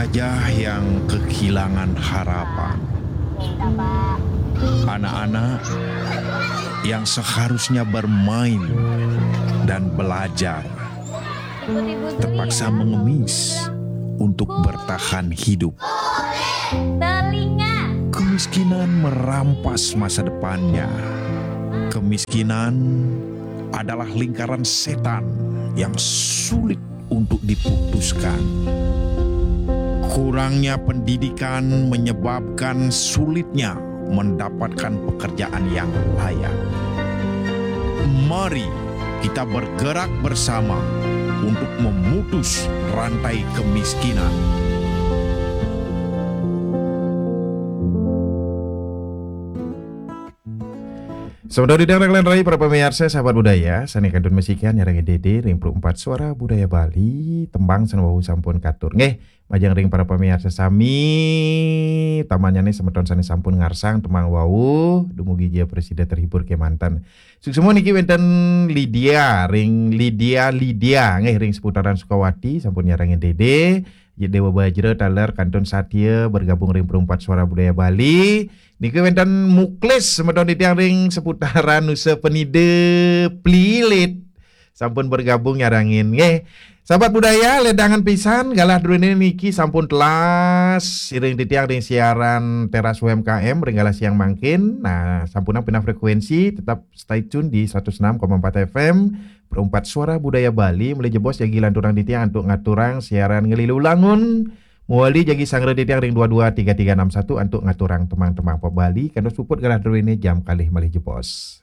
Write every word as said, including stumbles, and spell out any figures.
Wajah yang kehilangan harapan. Anak-anak yang seharusnya bermain dan belajar terpaksa mengemis untuk bertahan hidup. Telinga. Kemiskinan merampas masa depannya. Kemiskinan adalah lingkaran setan yang sulit untuk diputuskan. Kurangnya pendidikan menyebabkan sulitnya mendapatkan pekerjaan yang layak. Mari kita bergerak bersama untuk memutus rantai kemiskinan. Sampun didang ring rai para pamiarsa sahabat budaya, sane kantun masikian nyarengin dede ring Perumpat Suara Budaya Bali, tembang sane wau sampun katur. Nggih, majeng ring para pamiarsa sami, tamannyane semeton sane sampun ngarsang tembang wau, dumugi ja prasida terhibur kemanten. Suksma niki wenten Lydia, ring Lydia, Lydia, nggih ring seputaran Sukawati, sampun nyarengin dede, Dewa Bajra taler kantun satia bergabung ring Perumpat Suara Budaya Bali. Niki wenten Muklis semeton titiang ring seputaran Nusa Penida Plilit. Sampun bergabung nyarengin nggih. Sahabat budaya, ledangan pisan galah druene niki sampun telas iring titiang ring siaran Teras U M K M ring galah siang mangkin. Nah, sampunang pindah frekuensi, tetap stay tune di seratus enam koma empat F M, Perumpat Suara Budaya Bali, malih jebos jagi lanturang titiang antuk ngaturang siaran Ngelilu Langun. Mawali jagi sanggra titiang ring dua dua tiga tiga enam satu antuk ngaturang tembang-tembang pop Bali, kantos puput galah druene jam kalih malih jebos.